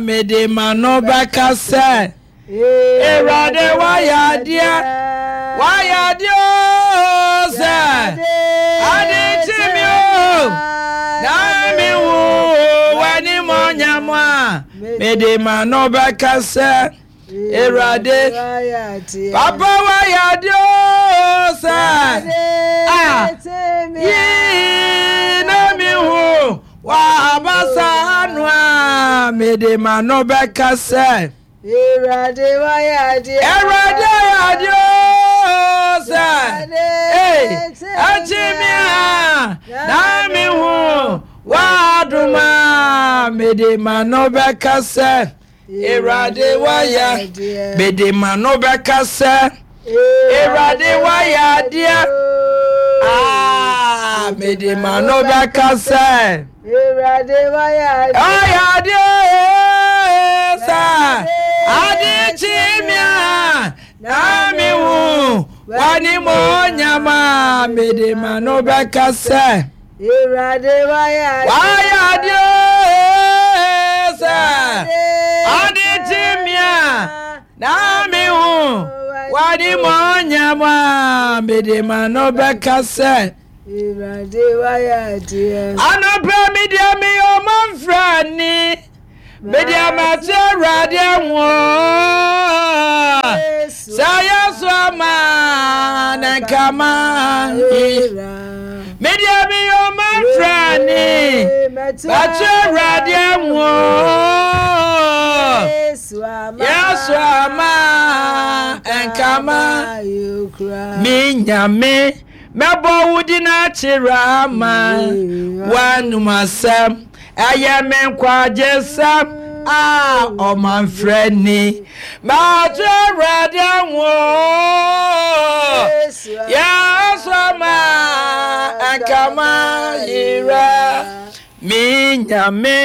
mede m'ano bɛka sɛ, Awurade wayɛ adeɛ, wayɛ adeɛ oo sɛ ade kye me oo na me hu w'animuonyam a, mede m'ano bɛka sɛ, Awurade papa wayɛ adeɛ oo sɛ a yi na me hu w'abasa ano a, mede m'ano bɛka sɛ. Awurade wayɛ adeɛ. Awurade ayɛ adeɛ oo sɛ ee ɛkyi mi a na mi hu w'adom a mede m'ano bɛka sɛ Awurade wayɛ mede m'ano bɛka sɛ Awurade wayɛ adeɛ aa mede m'ano bɛka sɛ. Awurade wayɛ adeɛ. Ɔyɛ adeɛ sɛ ade kye me a na me hu w'animuonyam a mede m'ano bɛka sɛ. Awurade wayɛ adeɛ. Wayɛ adeɛ sɛ ade kye me a na me hu w'animuonyam a mede m'ano bɛka sɛ. Awurade wayɛ adeɛ. Anɔpa mi deɛ meyɛ ɔmanfrani, mede amate Awurade ho. Sɛ Yesu ama ne nkama yi. Me deɛ meyɛ ɔmanfrani, mate Awurade ho. Yesu ama nkama me nyame. Mɛbɔ wo din akyerɛ ama w'anom asɛm. Ɛyɛ me nkwagyesɛm a ɔmanfrɛni. Mato Awurade ho. Yesu ama nkama yera. Me Nyame,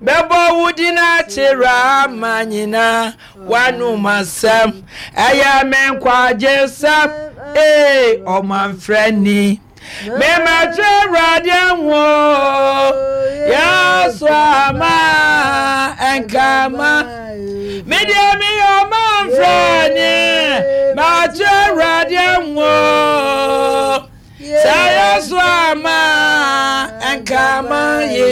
mɛbɔ wo din akyerɛ ama nyinaa. W'anom asɛm, ɛyɛ me nkwagyesɛm, ee, ɔmanfrɛni. Memɛto Awurade ho, Yesu ama nkama. Me deɛ meyɛ ɔmanfrɛni, mato Awurade ho. Sɛ Yesu ama nkama yi.